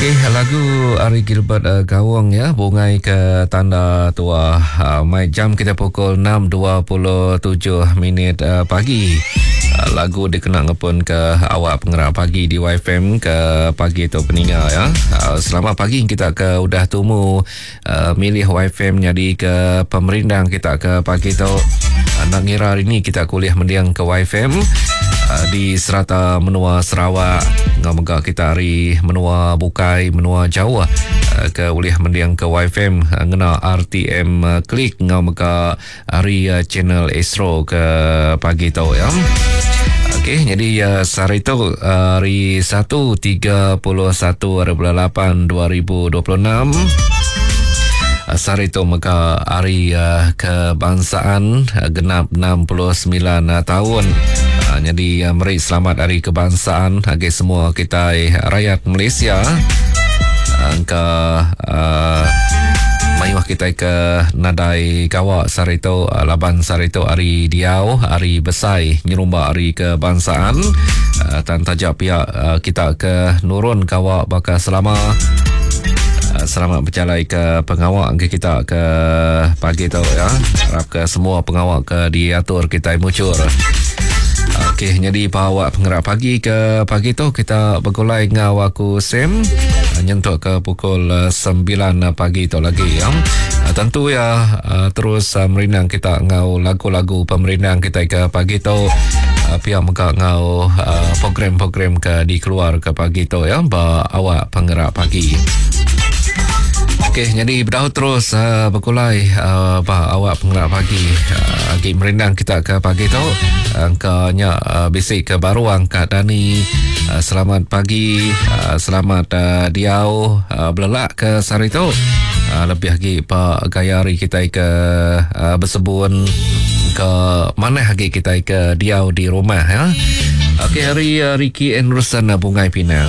Okey, lagu ari Gilbert uh, Gawong ya, Bungai ke Tanda Tua. Uh, mai jam kita pukul 6.27 minit uh, pagi. Uh, lagu dikena ngepun ke awak pengerak pagi di YFM ke pagi tu peninga ya. Uh, selamat pagi kita ke udah tumu uh, milih YFM jadi ke pemerindang kita ke pagi tu. Uh, nak ngira hari ni kita kuliah mendiang ke YFM uh, di serata menua Sarawak enggau mega kita ari menua bukai menua jauh uh, ke ulih mending ke YFM uh, ngena RTM uh, klik enggau mega ari uh, channel Astro ke pagi tu ya. Okey, jadi uh, sehari tu uh, hari 1 31 hari bulan 8 2026 Sehari tu mega hari uh, kebangsaan uh, genap 69 uh, tahun. Uh, jadi uh, meri selamat hari kebangsaan bagi semua kita rakyat Malaysia. Angka uh, mayuh kita ke nadai gawa sehari tu uh, laban sehari tu hari diau hari besai nyerumba hari kebangsaan uh, tan taja pia uh, kita ke nurun gawa baka selama Ah, selamat berjalai ke pengawa ke kita ke pagi tu ya. Harap ke semua pengawa ke diatur kita mucur. Okey, jadi bawa pengerak pagi ke pagi tu kita bergulai ngau aku Sam ah, nyentuk ke pukul 9 ah, pagi tu lagi ya. Tentu ya terus merindang kita ngau lagu-lagu pemerindang kita ke pagi tu pia mega ngau program-program ke dikeluar ke pagi tu ya ba awak pengerak pagi. Okey, jadi bedau terus uh, berkulai uh, ba awak pengerak pagi. Uh, agi merindang kita ke pagi tu. Angkanya uh, bisi ke baru angkat Dani. Uh, selamat pagi, uh, selamat uh, diau uh, belelak ke sehari tu. Uh, lebih agi ba gaya hari kita ke uh, bersebun ke mana agi kita ke diau di rumah ya. Okey, hari uh, Ricky Anderson uh, Bungai Pinang.